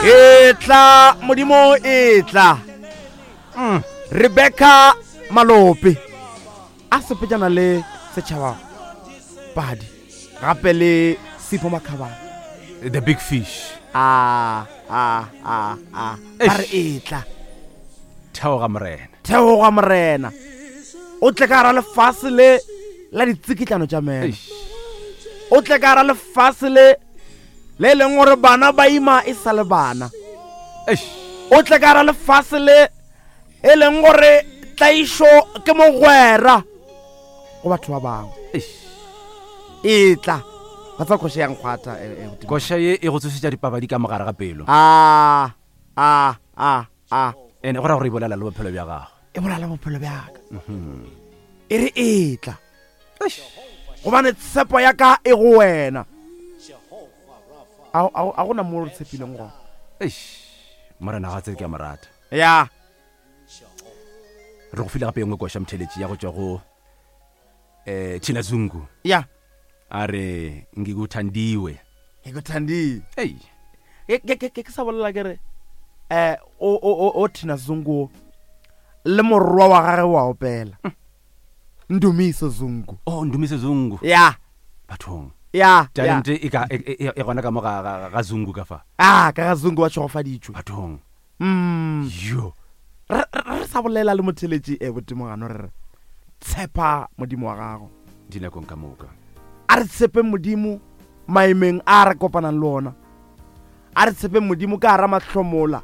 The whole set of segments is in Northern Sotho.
Etla Modimo etla. Mm. Rebecca Malope a sepetšana le setšhaba padi gape le Sipho Makhabane. The big fish. A a a a ba re etla. Theoga morena. Theoga morena. O tle ka gara lefase le la ditsikitlano tša meno. O tle ka gara lefase le le e leng gore bana ba ima e sa le bana. O tle ka gara lefase le e leng gore tlaišo ke mogwera go batho ba bangwe. Etla. Ba tsa koša ya nkgwatha. Eh, eh, koša ye e go tsošetša dipabadi ka mogare ga pelo. A a a a. Ene go ra gore e bolela le bophelo bja gago. E bolela bophelo bja ka. Mhm. E re etla. Gobane tshepo ya ka e go wena. A gona mo re tshepileng gona. Eish. Morena ga tsebe ke a mo rata. Ya. Re go file gape e nngwe koša motheletši ya go tšwa go eh Thina Zungu. Ya. A re ngikuthandiwe. Ngikuthandiwe. Ei. Ke ke ke ke sa bolela ke re eh o o o Thina Zungu le morwa wa gagwe wa opela. Ndumiso Zungu. Oh Ndumiso Zungu. Ya. Bathong. Ya. Talente e ka e, e, e gona ka mo ga ga, ga Zungu ka fa. Ah, ka ga Zungu wa tšhogofaditšwe. Bathong. Mm. Yo. Re re sa bolela le motheletši e botimogano re re tshepa Modimo wa gago. Dinakong ka moka. A re tshepeng Modimo maemeng a re kopanang le ona. A re tshepeng Modimo ka gara mahlomola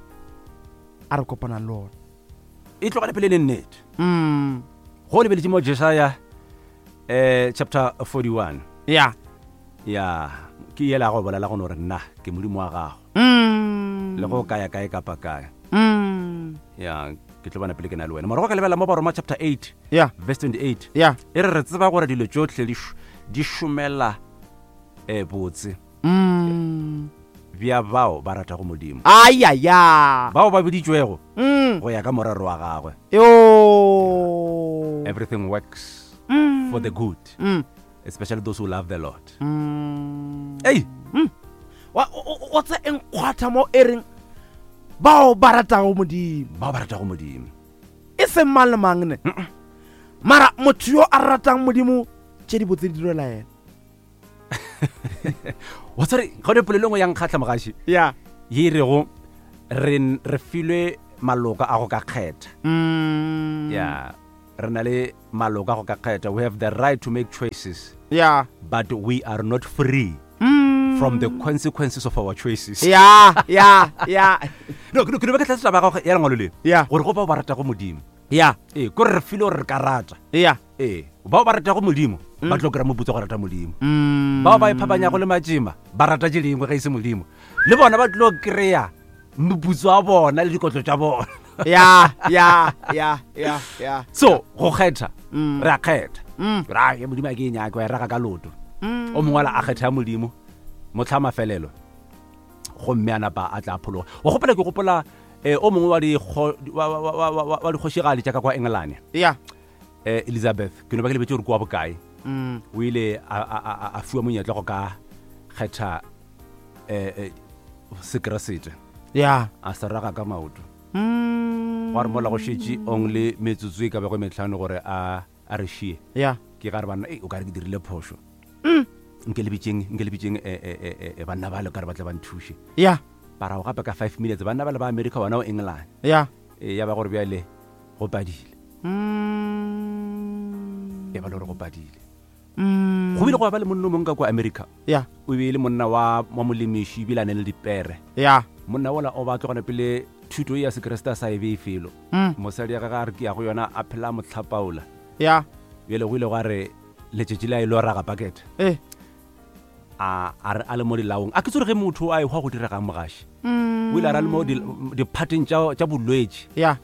a re kopanang le ona. E tlogele pele le nnete. Mm. Go lebeletše mo Jesaya eh chapter 41. Ya. Ya, ke yela go bolela go no re nna ke Modimo wa gago. Mm. Le go kaya kae kapa kae. Mm. Ya, ke tlo bona pele ke na le wena. Morago ka lebela mo Baroma chapter 8. Ya. Verse 28. Ya. E re re tseba gore dilo tšohle di di šomela eh botse. Mm. Bja bao ba ratago Modimo. Ayaya. Bao ba biditšwego mm. go ya ka morero wa gagwe. Yo. Everything works mm. for the good. Mm. Especially those who love the Lord. Mm. Hey. Mm. Wa o tse enkgwatha mo e reng bao ba ratago Modimo. Bao ba ratago Modimo. E seng mang le mang ne. Mara motho yo a ratang Modimo tše di botse di direla yena. wa tsare ga ne polelo nngwe ya nkgatlha mogaši ya ye e rego re re filwe maloka a go ka kgetha mm. ya re na le maloka a go ka kgetha we have the right to make choices ya but we are not free mm. from the consequences of our choices ya ya ya no ke no ke tlatsa taba ya gago ya lengwalo le ya gore go bao ba ratago modimo ya ee kore re filwe gore re ka rata ya ee bao ba ratago modimo mm. ba tlo kry-a moputso go rata modimo mm. bao ba iphapanyago le matšema ba rata tše dingwe ge e se modimo le bona ba tlo kry-a moputso wa bona le dikotlo tša bona ya ya ya ya ya so go kgetha mm. re a kgetha ra ye modimo a ke e nyake wa e raga ka loto o mongwe ala a kgetha ya modimo motlha mafelelo gomme a napa a tla phologa wa gopola ke gopola um o mongwe wa dikgošigadi tša ka kwa engelane ya eh, elizabeth ke no ba ke lebetse gore ke wa bokae mm. o ile a fiwa monyetla go ka kgetha eh, eh, sekeresete ya a se raga ka maoto mm. gwa re mola go šetše only metsotso e ka bego metlhano gore a a re šie ya ke ga re banna ei o ka re ke dirile phošo mm. nke le bitseng nke le bitseng eh, eh, eh, banna ba le ka re ba tle ba nthuše ya barago gape ka five minutes banna ba le ba america bona o england ya ya ba gore bjale go padile mm. e ba le gore go padile mm. go bile go ba le monna o mongwe ka kwa america ya o be e le monna wa wa molemiši ebile a ne le dipere ya monna ola o ba tlogana pele thuto e ya sekeresete a sa e bee felo mm. mosadi ya gage a re ke ya go yona a phela motlhapaola ya bjale go ile gwa re letšatši le a e lo raga pakete eh. a a re a le mo dilaong a ke tsore ge motho a ehwa go diregang mogaši mm. o ile a ra le mo diphateng tša bolwetši ya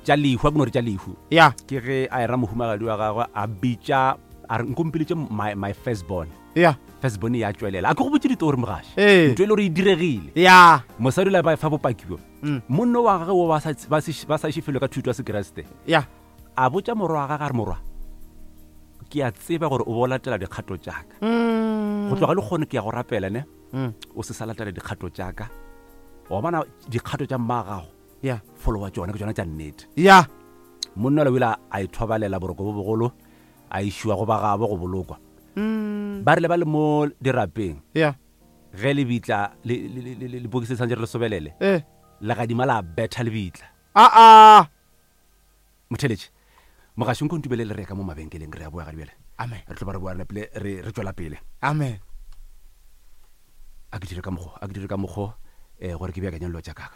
tša lehu a ke no re tša lehu ya ke ge a era mohumagadi wa gagwe a bitša a re nkompiletše my, my first born ya first born ya tšwelela a ke go botse ditori mogaši ee. ntho e le gore e diregile ya mosadi o le ba fa bopaki bjo mm. monna wa gagwe wo ba sa iše felo ka thuto ya sekeresete ya A botša morwa wa gagwe a re, Morwa, ke a tseba gore o bo o latela dikgato tša ka. Mm. Go tloga le kgono ke ya go rapela ne, mm. o se sa latela dikgato tša ka. Wa bona dikgato tša mma gago ya followa tšona ke tšona tša nnete. Ya Monna o ile a ithobalela boroko bo bogolo, a išiwa go ba gabo go bolokwa. Ba rile ba le mo dirapeng, ya ge lebitla lepokisi le tshwanetse re le sobelele, eh legadima la betha lebitla. A a Motheletše, mogaši nko ntumelele re ye ka mo mabenkeleng, re a boa ga bjale. Amen. Re tlo ba re boa re napile re re tšwela pele. Amen. A ke dire ka mokgo, a ke dire ka mokgo eh gore ke beakanye dilo tša ka.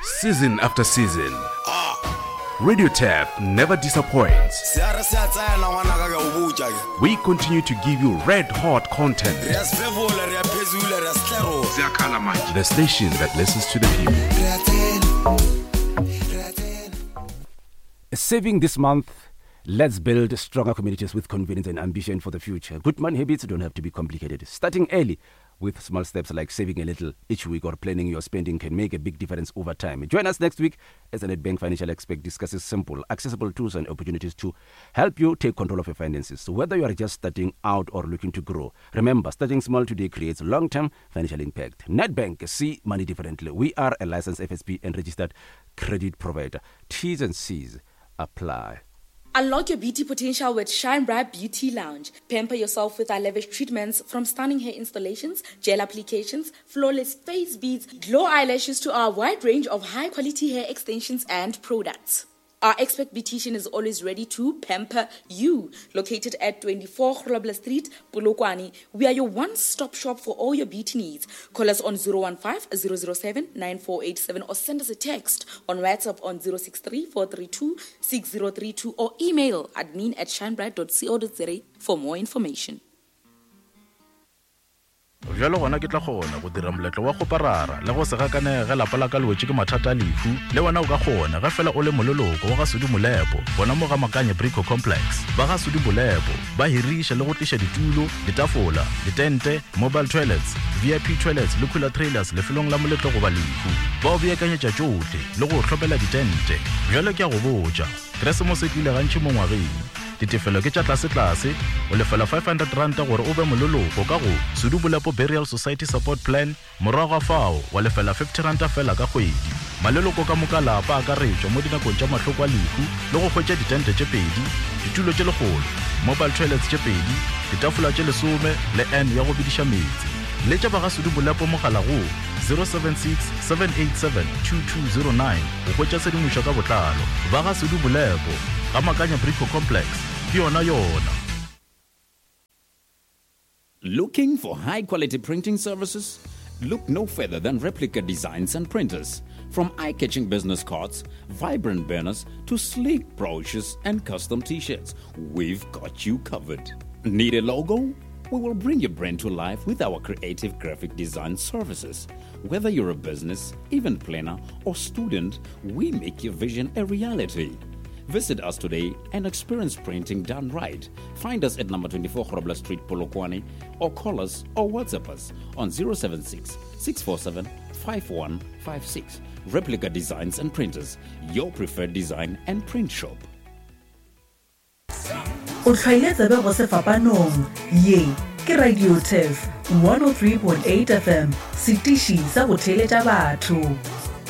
Season after season, Radio Tap never disappoints. Se a re se a tsena ngwanaka ke a o botša ke. We continue to give you red hot content. Re a sefefola, re a phezula, re a setlerola. The station that listens to the people. Re a tsena, re a tsena. Saving this month, let's build stronger communities with confidence and ambition for the future. Good money habits don't have to be complicated. Starting early with small steps like saving a little each week or planning your spending can make a big difference over time. Join us next week as the Nedbank Financial Expert discusses simple, accessible tools and opportunities to help you take control of your finances. So whether you are just starting out or looking to grow, remember, starting small today creates long-term financial impact. Nedbank, see money differently. We are a licensed FSP and registered credit provider. T's and C's apply. Unlock your beauty potential with Shine Bright Beauty Lounge. Pamper yourself with our lavish treatments, from stunning hair installations, gel applications, flawless face beads, glow eyelashes to our wide range of high quality hair extensions and products. Our expert beautician is always ready to pamper you. Located at 24 Grobler Street, Polokwane, we are your one-stop shop for all your beauty needs. Call us on 015 007 9487 or send us a text on WhatsApp on 063 432 6032 or email admin at shinebright.co.za for more information. Bjalo gona ke tla kgona go dira moletlo wa kgoparara le go se gakanege ge lapa la ka le wetše ke mathata a lehu. Le wena o ka kgona ge fela o le moleloko wa ga Sudi Molepo gona mo ga Makanye Brico Complex. Ba ga Sudi Molepo ba hiriša le go tliša ditulo, ditafola, ditente, mobile toilets, VIP toilets le cooler trailers lefelong la moletlo goba lehu. Ba o beakanyetša tšohle le go o hlopela ditente. Bjalo ke a go botša, Keresemose e tlile gantši mo ngwageng. Ditefelo ke tša tlasetlase, o lefela R500 gore o be moleloko ka go Sudu Bolepo Burial Society Support Plan, morago ga fao wa lefela R50 feela ka kgwedi. Maleloko ka moka a lapa a akaretšwa mo dinakong tša mahloko a lehu le go hwetša ditente tše pedi, ditulo tše lekgolo, mobile toilets tše pedi, ditafola tše lesome le urn ya go bediša meetse. Letša ba ga Sudu Bolepo mogala go 076 787 2209 go hwetša tshedimošo ka botlalo. Ba ga Sudu Bolepo, ga Makanya Brico Complex, ke yona yona. Looking for high quality printing services? Look no further than Replica Designs and Printers. From eye catching business cards, vibrant banners, to sleek brochures and custom t shirts, we've got you covered. Need a logo? We will bring your brand to life with our creative graphic design services. Whether you're a business, event planner, or student, we make your vision a reality. Visit us today and experience printing done right. Find us at number 24 Grobler Street, Polokwane, or call us or WhatsApp us on 076 647 5156. Replica Designs and Printers, your preferred design and print shop. O hlwaile tsebe go sefapanong. Ye ke Radio Turf 103.8 FM, setiši sa go theeletša batho.